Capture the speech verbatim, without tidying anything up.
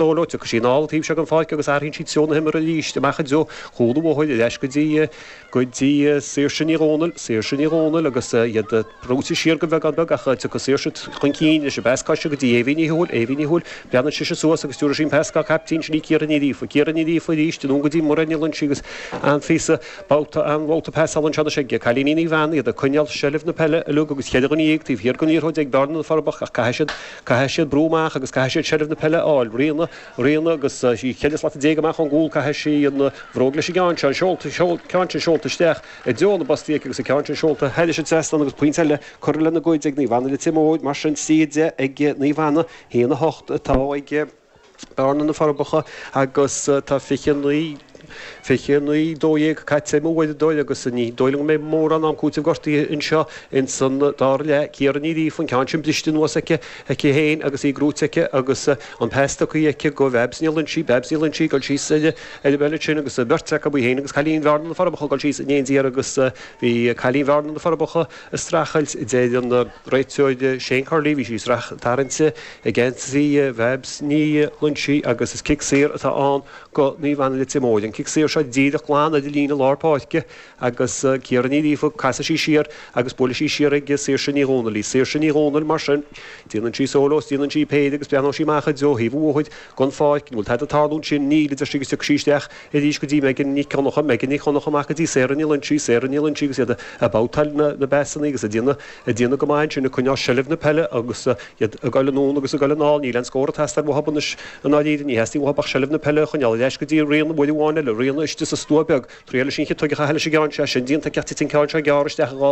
sóló tiocfaidh sí anall taobh seo den pháirc agus athraíonn sí treo na himeartha arís amach i dtreo chúl an bhóthair ar ais go dtí go dtí Saoirse Ní Dhomhnaill, Saoirse Ní Dhomhnaill agus iad brúite siar go bheagán beag ach tiocfaidh Saoirse chun cinn leis an bpas coise go dtí Éibhín Ní Thuathail, Éibhín Ní Thuathail, breathnaíonn sise suas agus stiúrfaidh sí an pas dá caiptín sin í Ciara Ní Ghríofa, Ciara Ní Ghríofa arís anonn go dtí Muireann Ní Loinsigh agus an-phíosa babhta an-bhabhta pasála anseo anois ag cailíní Naomh Anna iad ag coinneáil seilbh na peile uilig agus cheithre dhuine dhéag taobh thiar den liathróid ag Bearna na Forbacha ach caithfidh siad caithfidh siad brú amach agus caithfidh siad seilbh na peile a fháil. Ríona Ríona agus í ceithre slat déag amach ón gcúl caithfidh sí an bhróg leis an gceann seo seolta ceann sin seolta isteach i dtreo na bpostaí aici agus an ceann sin seolta thairis an trasnán agus pointe eile curtha lena gcuid ag Naomh Anna Leitir Móir mar sin trí a deich ag Naomh Anna haon a hocht atá ag Bearna na Forbacha agus tá fiche naoi fiche naoi dó dhéag caite ag mo uaireadóir agus ní dóigh liom go mbeidh mórán am cúitimh gortaithe anseo ins an dara leath. Ciara Ní Ghríofa an ceann sin briste anuas aici aici féin agus í gnóite aici agus an pas tugtha aici go Babs Ní Loinsigh, Babs Ní Loinsigh ag dul síos ar ar an bpeil sin agus beirt acu í féin agus cailín Bhearna na Forbacha ag dul síos in éindí agus bhí cailín Bhearna na Forbacha ag streachailt deir an réiteoir Shane Curley bhí sí ag tarraingt ag geansaí Bhabs Ní Loinsigh agus is cic saor atá ann go Naomh Anna Leitir Móir. An cic saor seo díreach glan ar an líne lár páirce agus Ciara Ní Ghríofa casfaidh sí siar agus buailfidh sí siar ag Saoirse Ní Dhomhnaill í. Saoirse Ní Dhomhnaill mar sin. Déanann sí sóló is déanann sí péire agus breathnóidh sí amach i dtreo thaobh an bhóthair den pháirc. An bhfuil tada ag tarlú ansin? Níl, a deir sí agus tiocfaidh sí isteach arís go dtí Megan Nic Dhonncha. Megan Nic Dhonncha amach go dtí Sarah Ní Loinsigh. Sarah Ní Loinsigh agus iad ag babhtáil na bpasanna agus ag déanamh ag déanamh go maith ansin ag coinneáil seilbh na peile agus iad ag goil anonn agus ag goil anall. Níl aon scór ag teastáil uathu anois i ndáiríre. Ní theastaíonn uathu ach seilbh na peile a choinneáil ar ais go dtí Ríona uair amháin eile. Ríona istigh sa stua beag. Triail leis an chiotóg a chaitheamh leis an gceann seo. Sin déanta aici ach titeann an ceann seo gearr isteach i dhá